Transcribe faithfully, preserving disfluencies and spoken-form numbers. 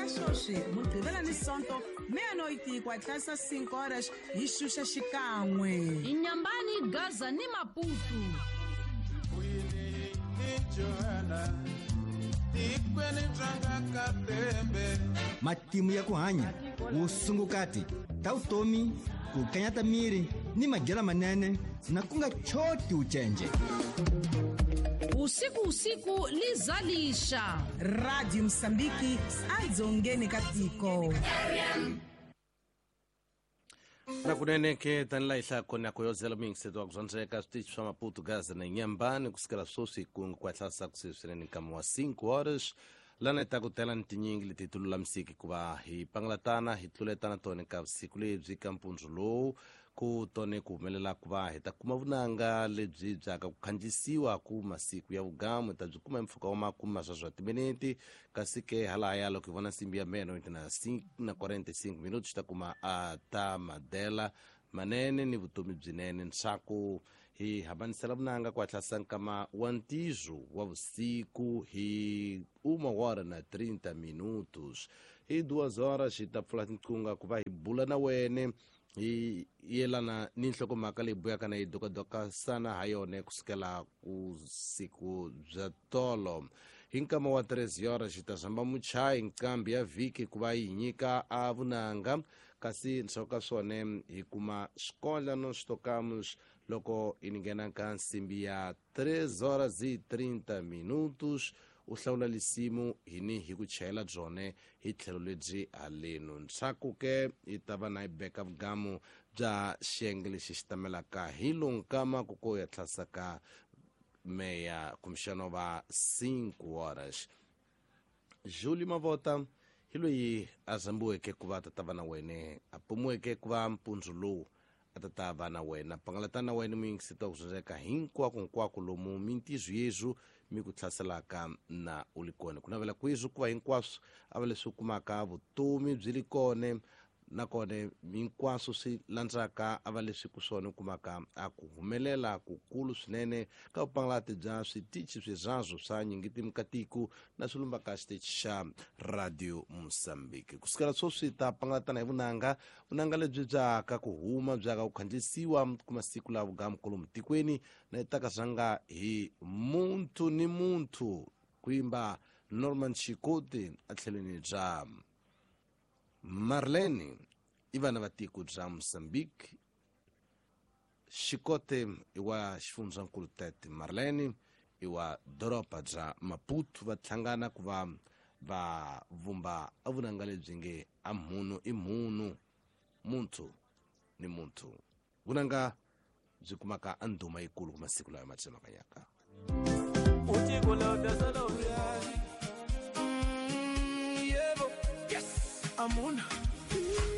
Ka sweswi Mugqivela ni Sonto meia-noite ku hatlisa cinco horas hi xuxa xikan'we. Inyambani, Gaza ni Maputo. Matimu ya ku hanya, vusungukati ta vutomi, ku kanyata miri ni madyelo manene na ku nga choti ucenje. Usiku usiku lizalisha. Radio Msambiki adzongeni ka tiko. Na kunene ke tanila ihla kona koyozela mingiseto wa kuzwanzeka switichi swa Maputo, Gaza na Inhambane kusukela sweswi ku kwatlasa kuseswinene nkama wa cinco horas lana hi ta ku tela ni tinyingi leti ti lulamisiki ku va hi pangalatana hi tluletana tona ka vusiku lebyi ka mpundzu lowu ku tone ku humelela ku va hi ta kuma vunanga lebyi byaka ku khandziyisiwa ku masiku ya vugamu hi ta byi kuma hi mpfhuka wa makume maswaswa timinete kasi ke halaya loko hi vona nsimbi ya meno na na quarenta e cinco minutos hi ta kuma a ta madela manene ni vutomi byinene ntshaku hi hambanisela vunanga ku hatlisa nkama wa ntizo wa vusiku hi uma hora na trinta minutos hi duas horas hi ta pfula tinqunga ku va hi bula na wene hi yelana ni nhlokomhaka leyi buyaka na yi dokadokasana ha yona kusukela ku siku bya tolo hi nkama wa três horas hi ta zamba muchayi nqambi ya vhiki ku va yi nyika a vunanga kasi ndzhaku ka swona hi kuma swikondla no switokamus loko hi nghena ka nsimbi ya três horas e trinta minutos u hlawula lisimu hini hi ku chayela byone hi tlhelo lebyi haleno ntshaku ke hi ta va na hi beka vugamu bya xiyenge lexi xi tamelaka hi lonkama ku ko ya tlhasaka meia kumbexana va cinco horas. Júlio Mavota hi loyi a zambiweke ku va tata va na wene a pumiweke ku va mpundzu lowu a tata va na wena pangalatana na wena muyingiseti wa ku zunzeka hinkwako hinkwako lomu mintizo yezu mi ku hlaselaka na u li kona ku navela kwizu ku va hinkwaswo a va leswi u kumaka vutomi byi li kona nakona hinkwaswo swi landzaka a va leswi ku swona u kumaka a ku humelela kukulu swinene ka vupangalati bya switichi swirhazo swa nyingitimu ka tiko na swilumba ka xitichi xa Radio Mozambique kusukela sweswi ta pangalatana hi vunanga vunanga lebyi byaka ku huma byaka ku khandziyisiwa ku masiku la vugamukulu tikweni na itaka zanga hi muntu ni muntu ku yimba Norman Chikoti a tlhelweni bya Marlene i vana va tiko bya Mozambique Xikote i wa xifundzankulu Tete Marlene i wa doroba bya Maputo va hlangana ku va va vumba a vunanga lebyi nge a munhu i munhu muntu ni muntu vunanga byi kumaka a ndhuma yikulu ku masiku lawa ma tsemakanyaka. Amuna